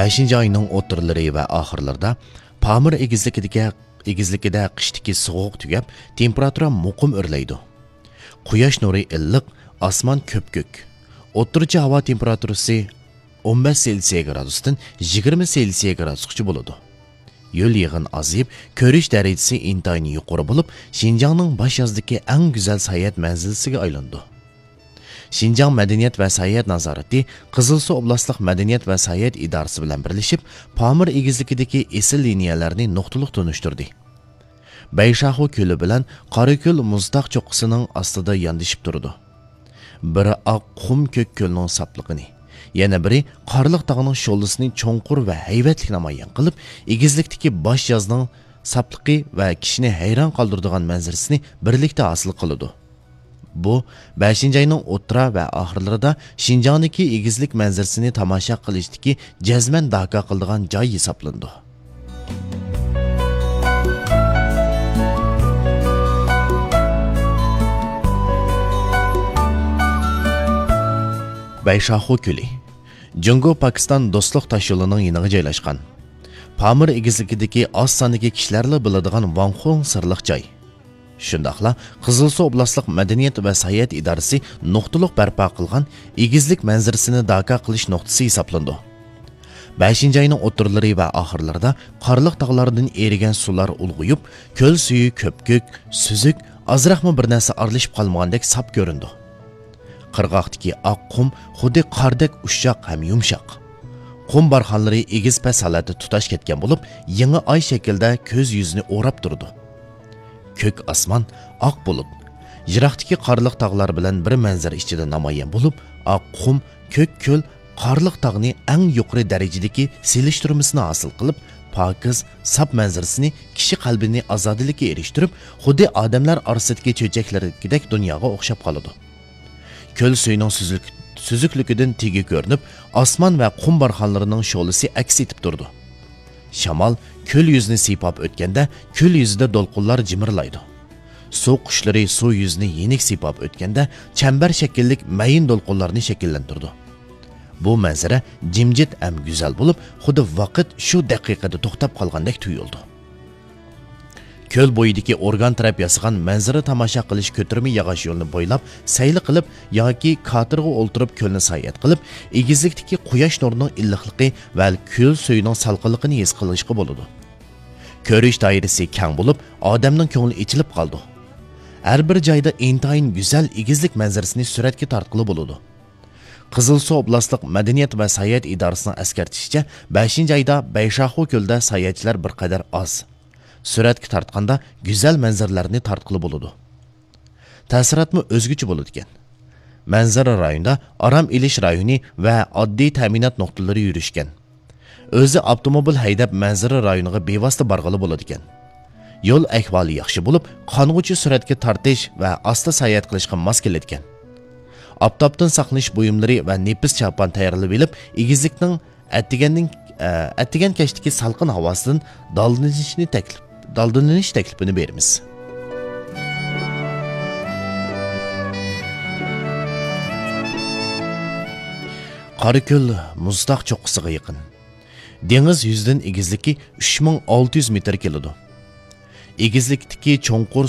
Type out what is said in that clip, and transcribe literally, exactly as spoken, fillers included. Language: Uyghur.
بەشىنچى ئاينىڭ ئوتتۇرىلىرى ۋە ئاخىرلىرىدا پامىر ئېگىزلىكىدىكى، ئېگىزلىكىدە قىشتىكى سوغۇق تۈگەپ، تېمپېراتۇرا مۇقىم ئۆرلەيدۇ. قۇياش نۇرى ئىللىق، ئاسمان كۆپكۆك. ئوتتۇرىچە ھاۋا تېمپېراتۇرىسى ئون بەش سېلسىيە گرادۇستىن يىگىرمە سېلسىيە گرادۇسقىچە بولىدۇ. يۆل يېغىن ئازىيىپ، كۆرۈش دەرىجىسى ئىنتايىن يۇقىرى بولۇپ، شىنجاڭنىڭ باش يازدىكى ئەڭ گۈزەل ساياھەت مەنزىلىسىگە ئايلىنىدۇ. شىنجاڭ مەدەنىيەت ۋە ساياھەت نازارىتى قىزىلسۇ ئوبلاستلىق مەدەنىيەت ۋە ساياھەت ئىدارىسى بىلەن بىرلىشىپ، پامىر ئېگىزلىكىدىكى ئېسىل لىنىيەلەرنى نۇقتىلىق تونۇشتۇردى. بەيشاخۇ كۆلى بىلەن قاراكۆل مۇزتاغ چوققىسىنىڭ ئاستىدا ياندىشىپ تۇرىدۇ. بىرى ئاق قۇم كۆك كۆلنىڭ ساپلىقىنى، يەنە بىرى قارلىق تاغنىڭ شولىسىنى چوڭقۇر ۋە ھەيۋەتلىك نامايان قىلىپ، ئېگىزلىكتىكى باش يازنىڭ ساپلىقى ۋە كىشىنى ھەيران قالدۇرىدىغان مەنزىرىسىنى بىرلىكتە ھاسىل قىلىدۇ. بۇ، بەشىنچى ئاينىڭ ئوتتۇرا ۋە ئاخىرلىرىدا شىنجاڭدىكى ئېگىزلىك مەنزىرىسىنى تاماشا قىلىشتىكى جەزمەن داكا قىلىدىغان جاي ھېسابلىنىدۇ. بەيشاخۇ كۆلى. جۇڭگو پاكىستان دوستلۇق تاشيولىنىڭ يېنىغا جايلاشقان. پامىر ئېگىزلىكىدىكى ئاز ساندىكى كىشىلەرلا بىلىدىغان ۋاڭخۇڭ سىرلىق جاي. شۇنداقلا قىزىلسۇ ئوبلاستلىق مەدەنىيەت ۋە ساياھەت ئىدارىسى نۇقتىلىق بەرپا قىلغان ئېگىزلىك مەنزىرىسىنى داكا قىلىش نۇقتىسى ھېسابلىنىدۇ. بەشىنچى ئاينىڭ ئوتتۇرىلىرى ۋە ئاخىرلىرىدا قارلىق تاغلاردىن ئېرىگەن سۇلار ئۇلغىيىپ، كۆل سۈيى كۆپكۆك، سۈزۈك، ئازراقمۇ بىر نەرسە ئارىلىشىپ قالمىغاندەك ساپ كۆرۈنىدۇ. قىرغاقتىكى ئاق قۇم خۇددى قاردەك ئۇششاق ھەم يۇمشاق. قۇم بارخانلىرى ئېگىز پەس ھالەتتە تۇتاش كەتكەن بولۇپ، يېڭى ئاي شەكلىدە كۆز يۈزىنى ئوراپ تۇرىدۇ. كۆك ئاسمان، ئاق بۇلۇت. يىراقتىكى قارلىق تاغلار بىلەن بىر مەنزىرە ئىچىدە نامايان بولۇپ، ئاق قۇم، كۆك كۆل قارلىق تاغنى ئەڭ يۇقىرى دەرىجىدىكى سېلىشتۇرمىسىنى ھاسىل قىلىپ، پاكىز، ساپ مەنزىرىسىنى كىشى قەلبىنى ئازادىلىككە ئېرىشتۈرۈپ، خۇددى ئادەملەر ئارىسىدىكى چۆچەكلەردىكىدەك دۇنياغا ئوخشاپ قالىدۇ. كۆل سۈيىنىڭ سۈزۈك-، سۈزۈكلۈكىدىن تېگى كۆرۈنۈپ، ئاسمان ۋە قۇم بارخانلىرىنىڭ شولىسى ئەكس ئېتىپ تۇرىدۇ. شامال كۆل يۈزىنى سىيپاپ ئۆتكەندە، كۆل يۈزىدە دولقۇنلار جىمىرلايدۇ. سۇ قۇشلىرى سۇ يۈزىنى يېنىك سىيپاپ ئۆتكەندە، چەمبەر شەكىللىك مەيىن دولقۇنلارنى شەكىللەندۈرىدۇ. بۇ مەنزىرە جىمجىت ھەم گۈزەل بولۇپ، خۇددى ۋاقىت شۇ دەقىقىدە توختاپ قالغاندەك تۇيۇلىدۇ. كۆل بويىدىكى ئورگان تەرەپ ياسىغان مەنزىرە تاماشا قىلىش كۆتۈرمە ياغاچ يولىنى بويلاپ سەيلە قىلىپ ياكى كاتېرغا ئولتۇرۇپ كۆلنى ساياھەت قىلىپ، ئېگىزلىكتىكى قۇياش نۇرىنىڭ ئىللىقلىقى ۋە كۆل سۈيىنىڭ سالقىنلىقىنى ھېس قىلىشقا بولىدۇ. كۆرۈش دائىرىسى كەڭ بولۇپ، ئادەمنىڭ كۆڭلى ئېچىلىپ قالىدۇ. ھەر بىر جايدا ئىنتايىن گۈزەل ئېگىزلىك مەنزىرىسىنى سۈرەتكە تارتقىلى بولىدۇ. قىزىلسۇ ئوبلاستلىق مەدەنىيەت ۋە ساياھەت ئىدارىسىنىڭ ئەسكەرتىشىچە، بەشىنچى ئايدا بەيشاخۇ كۆلىدە ساياھەتچىلەر بىر قەدەر ئاز. سۈرەتكە تارتقاندا گۈزەل مەنزىرىلەرنى تارتقىلى بولىدۇ. تەسىراتمۇ ئۆزگىچە بولىدىكەن. مەنزىرە رايونىدا ئارام ئېلىش رايونى ۋە ئاددىي تەمىنات نۇقتىلىرى يۈرۈشكەن. ئۆزى ئاپتوموبىل ھەيدەپ مەنزىرە رايونىغا بىۋاسىتە بارغىلى بولىدىكەن. يول ئەھۋالى ياخشى بولۇپ، قانغۇچە سۈرەتكە تارتىش ۋە ئاستا ساياھەت قىلىشقا ماس كېلىدىكەن. ئاپتاپتىن ساقلىنىش بۇيۇملىرى ۋە نېپىز چاپان تەييارلىۋېلىپ، ئېگىزلىكنىڭ ئەتىگەننىڭ، ئە، ئەتىگەن كەچتىكى سالقىن ھاۋاسىدىن دالدىلىنىشنى تەكلىپ، دالدىلىنىش تەكلىپىنى بېرىمىز. قاراكۆل مۇزتاغ چوققىسىغا يېقىن. دېڭىز يۈزىدىن ئېگىزلىكى ئۈچ مىڭ ئالتە يۈز مېتىر كېلىدۇ. ئېگىزلىكتىكى چوڭقۇر